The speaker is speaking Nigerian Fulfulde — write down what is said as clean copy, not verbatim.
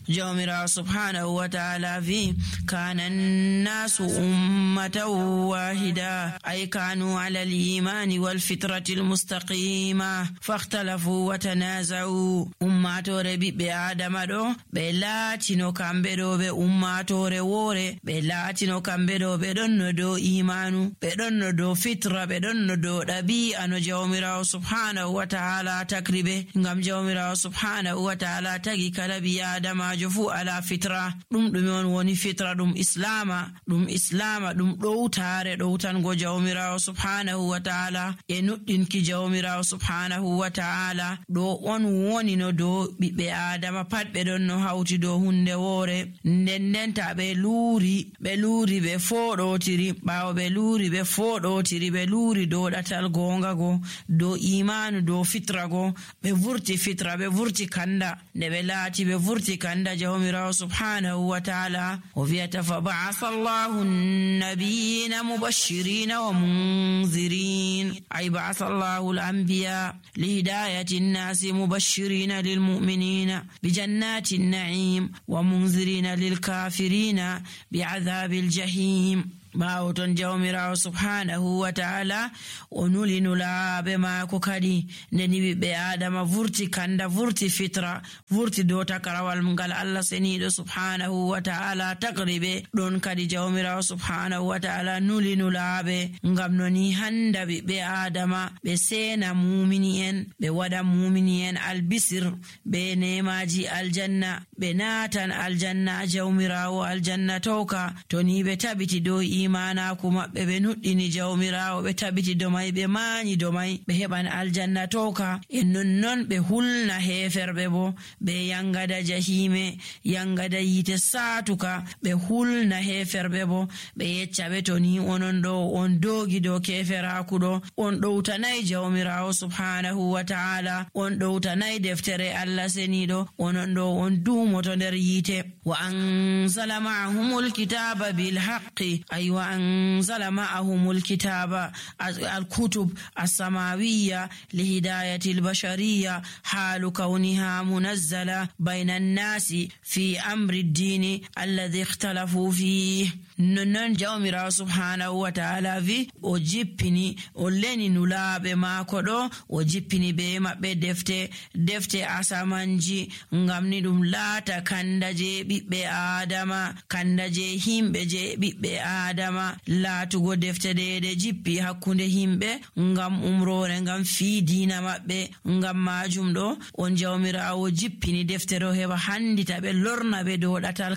jawmirawo subhanahu wa ta'ala vi kana an-nasu ummatan wahida ay kanu ala al-imani wal fitrati al-mustaqima fakhtalafu wa tanaza'u. ummatore ɓiɓɓe adama ɗo ɓe laatino kamɓe ɗo ɓe ummatore woore, ɓe laatino kamɓe ɗo ɓe ɗon no dow imanu, ɓe ɗon no dow fitra, ɓe ɗon no dow ɗabi'a no jawmirawo subhanahu wa ta'ala tagri ɓe. ngam jawmirawo subhanahu wa ta'ala tagi kala ɓi adamajo fu ala fitra. ɗume on woni fitra? ɗum islama ɗum ɗowtango jawmirawo subhanahu wa ta'ala e nuɗɗinki jawmirawo subhanahu wa ta'ala. ɗo on woni no dow ɓiɓɓe adama pat ɓe ɗon no hawti dow hunde woore. ndenta ɓe luuri ɓe foɗotiri, ɓawo ɓe luuri ɓe foɗotiri, ɓe luuri dow ɗatal gonga go, dow imanu, dow fitra go, ɓe vurti fitra, ɓe vurti kanda. nde ɓe laati ɓe vurti kanda, jawmirawo subhanahu wa ta'ala o wiyata fa ba'atha Allahu an-nabiyina mubashirina wa munzirin, ay ba'atha Allahu al-anbiya lihidayati an-nasi mubashirina lilmu'minina bijannati an-na'im wa munzirina lilkafirina bi'adhabil jahim. ɓaawo ton jawmirawo subhanahu wa ta'ala o nuli nulaaɓe maako kadi ndeni ɓiɓɓe adama vurti kanda, vurti fitra, vurti dow takarawal ngal Allah seniɗo subhanahu wa ta'ala tagri ɓe. ɗon kadi jawmirawo subhanahu wa ta'ala nuli nulaaɓe ngam noni handa ɓiɓɓe adama ɓe sena mumini en, ɓe waɗa mumini en albisir be nemaji aljanna, ɓe natan aljanna jawmirawo aljanna towka to ni ɓe tabiti dow imanaku maɓɓe, ɓe nuɗɗini jawmirawo, ɓe tabiti domai, ɓe mañi domai, ɓe heɓan aljanna towka. e nonnon ɓe hulna heferɓe bo, ɓe yangada jahime, yangada yite satuka, ɓe hulna heferɓe bo, ɓe yeccaɓe to ni onon ɗo on dogi dow keferaku ɗo, on ɗowtanayi jawmirawo subhanahu wa ta'ala, on ɗowtanayi deftere Allah seniɗo, onon ɗo on dumoto nder yite. wa anzala ma'ahumul kitaba bil haqqi, ay wa anzala ma'ahumul kitaba al-kutub as-samawiyya lihidayati al-bashariyya halu kauniha munazzala bayna an-nasi fi amri ad-dini alladhi ikhtalafu fihi. non jawmirawo subhanahu wa ta'ala vi o jippini o leni nulaɓe maako ɗo, o jippini be maɓɓe defte asamanji ngam ni ɗum laata kanda je ɓiɓɓe adama, kanda je himɓe je ɓiɓɓe adama, laatugo defte ɗe jippi hakkunde himɓe ngam umrore, ngam fiidina maɓɓe. ngam majum ɗo on jawmirawo jippini defte ɗo heɓa handita ɓe lorna ɓe dow ɗatal